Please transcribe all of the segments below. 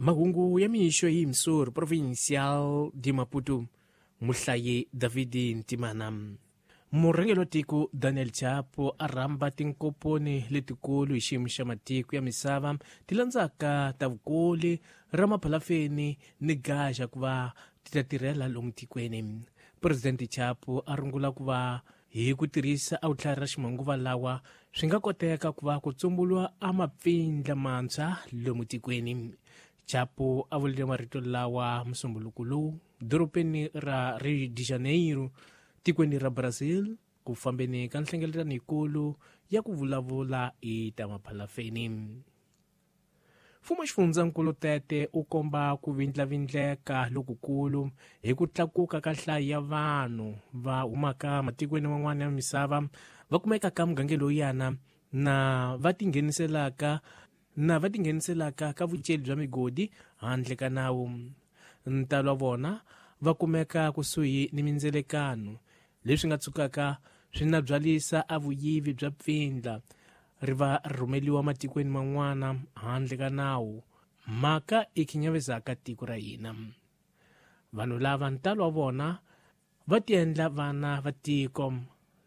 Mahungu ya mixo hi Missouri Provincial de Maputo, muhlayi David Ntimana. Murhangeri wa tiko Daniel Chapo a rhamba tinkomponi letikulu hi xiyimo xa matiko ya misava ti landzaka ta vukoli ra maphalafeni ni gaxa ku va ti ta tirhela lomu tikweni. Presidente Chapo a rungula ku va hi ku tirhisa a vutlhari ra ximanguva lawa swi nga koteka ku va ku tsumburiwa a mapfindla mantshwa lomu tikweni. Chapo a vulile marito lawa musumbuluko lowu dorobeni ra Rio de Janeiro tikweni ra Brazil ku fambeni ka nhlengeletano yikulu ya ku vulavula hi ta maphalafeni. Mfumo wa xifundzankulu Tete u komba ku vindlavindleka lokukulu hi ku tlakuka ka nhlayo ya vanhu va humaka matikweni man'wana ya misava va kumekaka mugangeni lowuyana na va tingheniselaka na va tingheniselaka ka vuceli bya migodi handle ka nawu. Ntalo wa vona va kumeka kusuhi ni mindzelekano leswi nga tshukaka swi nabyalisa a vuyivi bya pfindla ri va ri rhumeliwa matikweni man'wana handle ka nawu, mhaka i khinyavizaka tiko ra hina. Vanhu lava ntalo wa vona va tiendla vana va tiko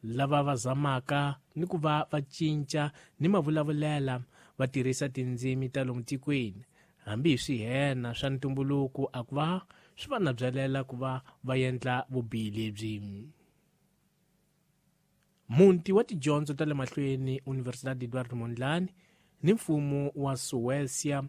lava va zamaka ni ku va va cinca ni mavulavulela va tirhisa tindzimi ta lomu tikweni hambi hi swihena swa ntumbuluko a ku va swi va nabyalela ku va va endla vubihi lebyi. Muti wa tidyondzo ta le mahlweni Universidade Eduardo Mondlane ni mfumo wa Suécia.